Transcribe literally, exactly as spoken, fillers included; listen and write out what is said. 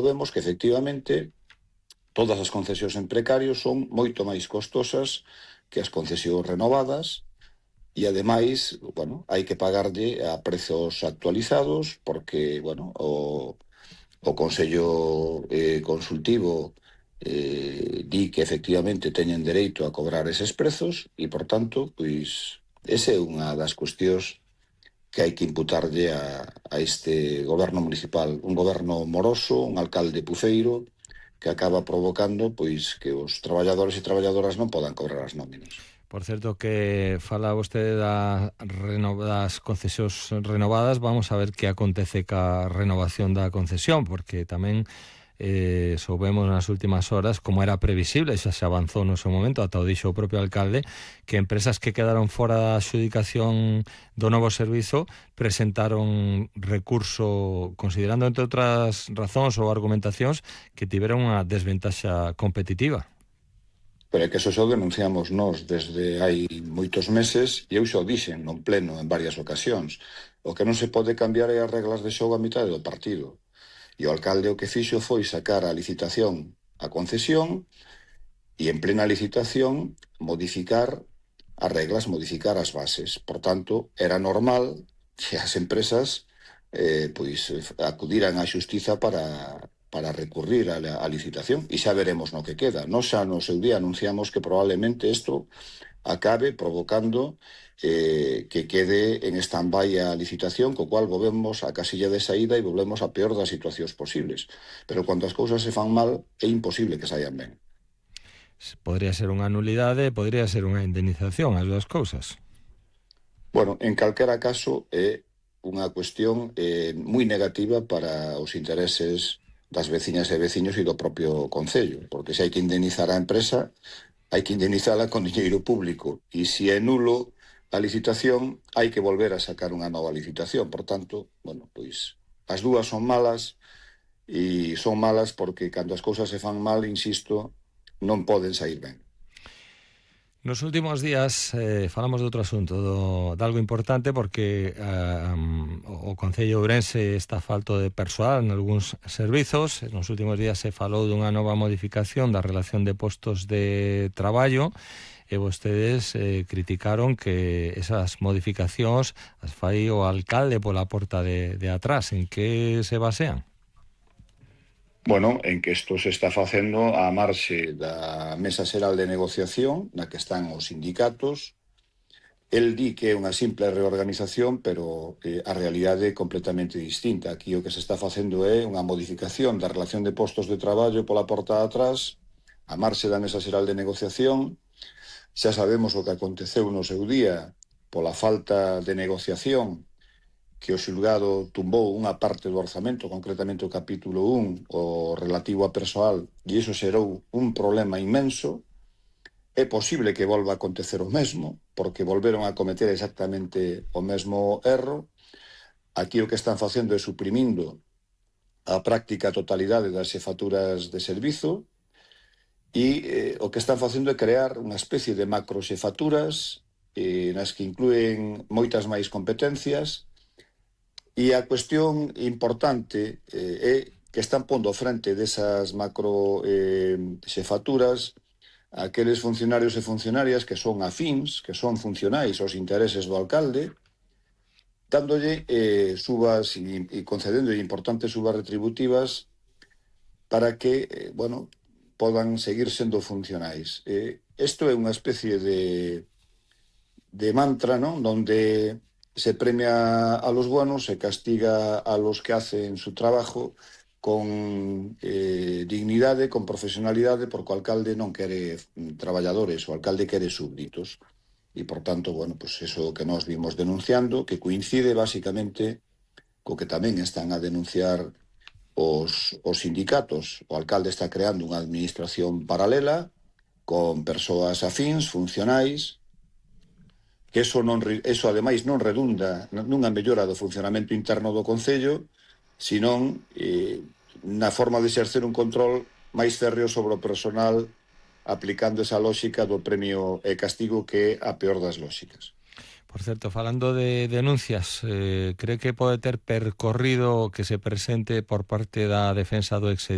vemos que efectivamente todas as concesións en precario son moito máis costosas que as concesións renovadas e, ademais, bueno, hai que pagarlle a prezos actualizados porque, bueno, o, o Consello eh, Consultivo eh, di que efectivamente teñen dereito a cobrar eses prezos e, por tanto, pois, esa é unha das cuestións que hai que imputarlle a, a este goberno municipal, un goberno moroso, un alcalde puceiro, que acaba provocando pois que os traballadores e traballadoras non podan cobrar as nóminas. Por certo que fala vostede da reno, das concesións renovadas, vamos a ver que acontece ca renovación da concesión, porque tamén eh, soubemos nas últimas horas, como era previsible, xa se avanzou no seu momento, ata o dixo o propio alcalde, que empresas que quedaron fora da adxudicación do novo servizo presentaron recurso, considerando, entre outras razóns ou argumentacións, que tiveron unha desventaxa competitiva. Pero é que eso xa o denunciamos nós desde hai moitos meses e eu xa o dixen non pleno en varias ocasións. O que non se pode cambiar é as reglas de xogo a mitad do partido. E o alcalde o que fixo foi sacar a licitación a concesión e en plena licitación modificar as reglas, modificar as bases. Por tanto, era normal que as empresas eh, pois acudiran á xustiza para, para recurrir a, a licitación e xa veremos no que queda. Nos xa no seu día anunciamos que probablemente isto acabe provocando eh, que quede en stand-by a licitación, co cual volvemos a casilla de saída e volvemos a peor das situacións posibles. Pero cando as cousas se fan mal, é imposible que saian ben. Podría ser unha nulidade, podría ser unha indemnización, as dúas cousas. Bueno, en calquera caso, é unha cuestión eh, moi negativa para os intereses das veciñas e veciños e do propio Concello, porque se hai que indemnizar a empresa, hai que indemnizala con dinheiro público, e se é nulo a licitación, hai que volver a sacar unha nova licitación. Por tanto, bueno, pois as dúas son malas, e son malas porque cando as cousas se fan mal, insisto, non poden sair ben. Nos últimos días eh, falamos de outro asunto, do, de algo importante, porque eh, um, o Concello de Ourense está falto de persoal en algúns servizos. Nos últimos días se falou dunha nova modificación da relación de postos de traballo e vostedes eh, criticaron que esas modificacións as fai o alcalde pola porta de, de atrás. En que se basean? Bueno, en que isto se está facendo á marxe da Mesa Xeral de Negociación, na que están os sindicatos. El di que é unha simple reorganización, pero eh, a realidade é completamente distinta. Aquí o que se está facendo é unha modificación da relación de postos de traballo pola porta de atrás, á marxe da Mesa Xeral de Negociación. Xa sabemos o que aconteceu no seu día pola falta de negociación, que o xulgado tumbou unha parte do orzamento, concretamente o capítulo un, o relativo a persoal, e iso xerou un problema inmenso. É posible que volva a acontecer o mesmo, porque volveron a cometer exactamente o mesmo erro. Aquí o que están facendo é suprimindo a práctica totalidade das xefaturas de servizo e eh, o que están facendo é crear unha especie de macro xefaturas eh, nas que inclúen moitas máis competencias. E a cuestión importante eh, é que están pondo frente desas macro eh, xefaturas aqueles funcionarios e funcionarias que son afíns, que son funcionais aos intereses do alcalde, dándolle eh, subas e, e concedendo importantes subas retributivas para que, eh, bueno, podan seguir sendo funcionais. Eh, isto é unha especie de, de mantra, non? Donde se premia a los buenos, se castiga a los que hacen su trabajo con eh, dignidade, con profesionalidade, porque o alcalde non quere traballadores, o alcalde quere súbditos. E, por tanto, bueno, pues eso que nós vimos denunciando, que coincide basicamente co que tamén están a denunciar os, os sindicatos. O alcalde está creando unha administración paralela con persoas afíns, funcionais, que eso, non, eso ademais non redunda nunha mellora do funcionamento interno do Concello, senón eh, na forma de exercer un control máis férreo sobre o personal, aplicando esa lógica do premio e castigo, que é a peor das lógicas. Por certo, falando de denuncias, eh, cree que pode ter percorrido que se presente por parte da defensa do ex